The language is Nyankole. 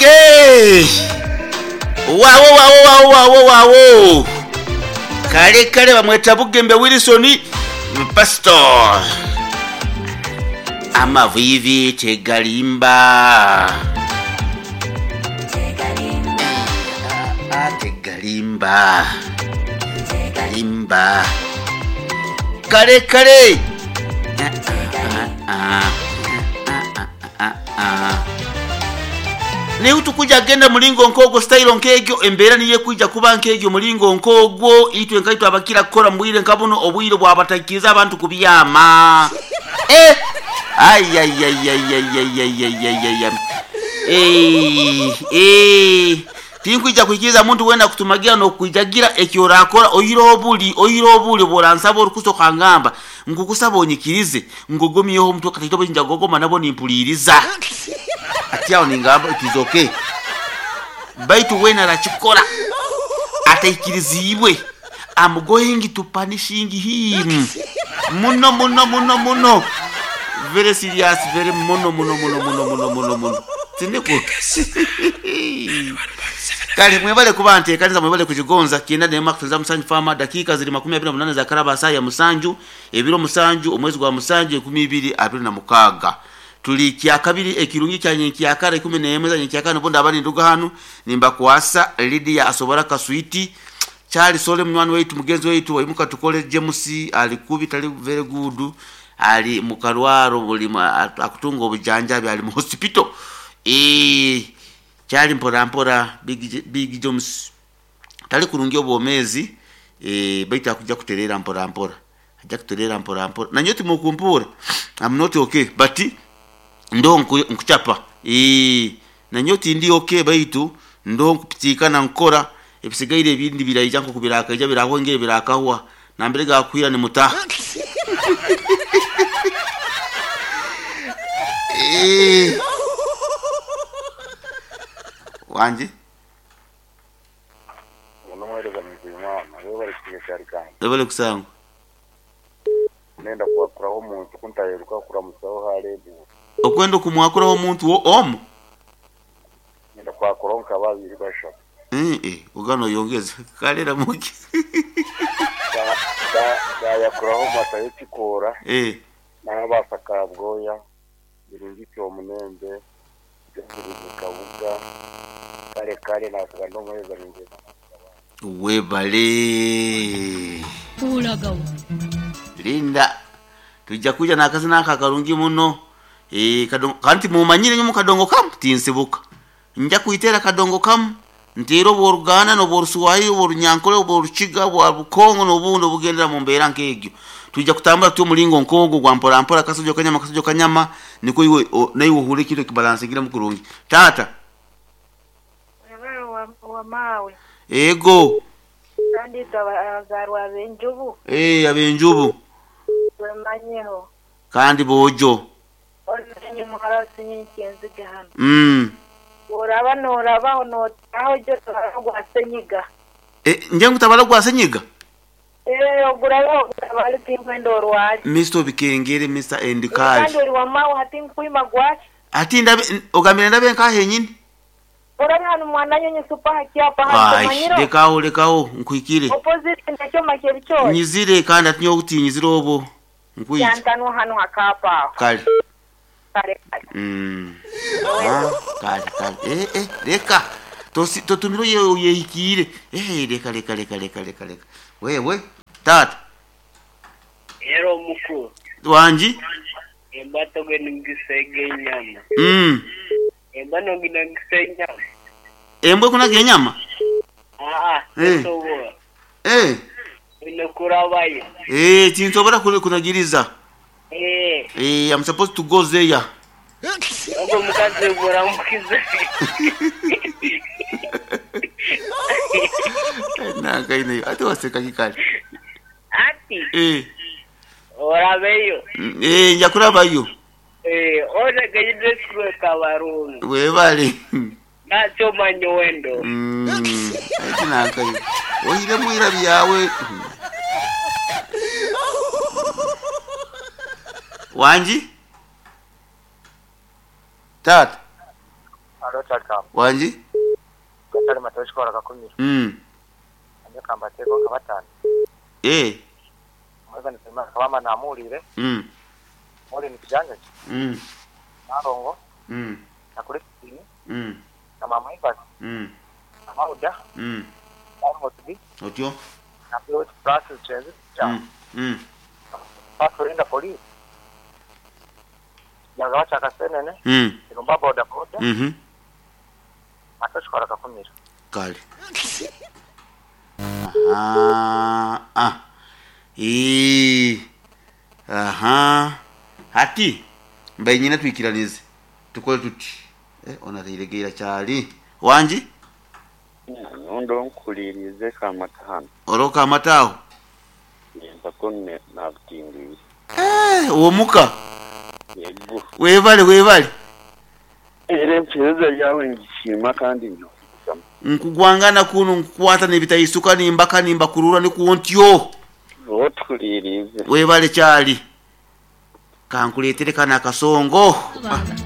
Okay. Wawo wawo wawo wawo wawo. Kale kale bamweta Bugembe Wilson Pastor. Amavivi tegalimba. Ah, tegalimba. Tegalimba. Kale kale. Ah, ah, ah, ah, ah, ah, ah. Naye tukuja genda mulingo nkogwo style nkegyo embeera niyo ekwija kuba nkegyo mulingo nkogwo itwe nkaitwe abakira kukora mubwire nka buno obwire bwabatakiriza abantu kubyama eh ayayayayayayayayayaya eh eh tinkwija kwikiriza muntu wena kutumagira nokwijagira ekyo orakora oyire obuli oyire obuli bworansaba orikusoka ngamba nkukusaba onyikirize ngugumyeho omutwe kataito bwinja gogoma nabo nimpuliriza ati aho ningamba it is okay baitu wena arakikora ataikirizibwe I'm going to punishing him muno muno muno muno very serious very muno muno muno muno muno muno muno tindiku kale mwebale kuba nteekaniza mwebale kukigonza kyenda nema kutuliza musanju fama dakika ziri 28 za karaba saa ya musanju ebiro musanju omwezi gwa musanju 2026 tuli kyakabiri ekirungi kya nyenkyakara 11 za nyenkyakara nubundi abali nduga hanu nimbakwasa Lydia asobora kaswiti Charles Sole munywani waitu mugenzi waitu waimuka tukole James ali kubi tali very good ali mukarwaro buli akutunga obujanjabi ali mu hospital eh kyali mpora mpora big, big James tali kurungi obwomezi eh baitu akuja kuterera mpora mpora ajja kuterera mpora mpora nanyo timukumpura I'm not okay but ndo nkuchapa eh nanyo tindi okay baitu ndo nkupitikana nkora ebisigaire ebindi biraija nko kubirakaija birahwengere birakahwa nambere gakwira ni mutaha eh wanje unomwereza muzimana rero bari kucyari kandi ebale kusangwa nenda kuwakuraho omuntu kuntaheruka kuramusaho harebu okwenda okumwakuraho omuntu wo omu nenda kwakuraho nka babiri bashatu eh eh ugano yongeza kalera muki gayakuraho mata y'ekikoora eh n'abasa kabwoya birungiti omunembe byazirize kabuga kare kare nasiga ndomuhereza muzimana webale Kulagawa. linda tujja kuja nakazina aka karungi muno eh kadongo kanti mumanyire nyo mukadongo kamu tinsibuka nja kuitera kadongo kamu nteera obworuganda n'obworuswahili obworunyankole obworukiga bwa bukongo n'obundi obugendera mu mbeera nk'egyo tujja kutambula tutyo omulingo nk'ogwo gwa mpora mpora kasojo kanyama kasojo kanyama niko iwe naiwe ohure ekintu ekibalansingira kurungi taata Mwebale wa, wa mawe ego kandi itwe abazarwa ab'enjubu eh abenjubu twemanyeho kandi bojo omenye muhara sinyinkyenziga hano mm. oraba norabaho notaho jo tabara gwa senyiga e, nje ngutabala gwa senyiga eh ogurabaho gutabara tinkwenda orwaje Mr. Bikengere Mr. Endikali kandi ori wa mawe hati nkwima gwaki ati ndabe ogambire ndabe nkahe nyini orabe hano mwana nyonyi supa hakyapa hano ai tumanyiro lekawo lekawo nkwikire opposite nakyo makyeri nyizire kandi ati nyokuti nyizire obo nkwije kyantano hano hakapa aho kale kale kale mm. ah, kale kale eh eh leka tosi totumiro ye yehikire eh leka leka leka leka leka leka wewe tata Era omukuru wanji emba togenda ngisege enyama mm. emba nogenda ngisa enyama embwe kunaga enyama aa Eh. tosobola eh ine kurabayo eh tinsobora kunagiriza Eh, eh I'm supposed to go there ogwo mukazi buramukize nakaine ate waseka kikale ati eh orabeyo Mm, eh nja kurabayo Eh, otegeyidde sikulu kabarungi webale nakyo manya owendo Mm, ati nakaine oyiremu ira byawe wanji tata Halo Kyali Wangi? Gatali matoshi kola kakumiro. Anye kambateko nka batano. Eh. Mweza nisema kabama namulire. Muli ni kijanja. Nalongo. Na Christine. Na mama Ivas. Na Mauda. Na Motbi. Otyo? Na Pilot Francis Chenzi. Cha. Pastor inda police. Yagawacha kasenene. Irumba boda boda. Matoshi kola kakumiro. Kale. Aha. Ah. Ee. Aha. Hati mbaye nyina twikiranize. Tukole tuti. Eh, ona tiregeera kyali. Wangi? Nondo nkulirize kamata hano. Oroka amata aho. Nempako nabutindiire. Eh, omuka. Yego. Webale webale. Era empereza yawe ngisiima kandi njokuzamu. Nkugwangana kuno nkukwata n'ebitayisuka nimbaka nimbakurura nikuntyo. Otukulirize. Webale kyali. Kankuleetere kano akasongo. Abanza.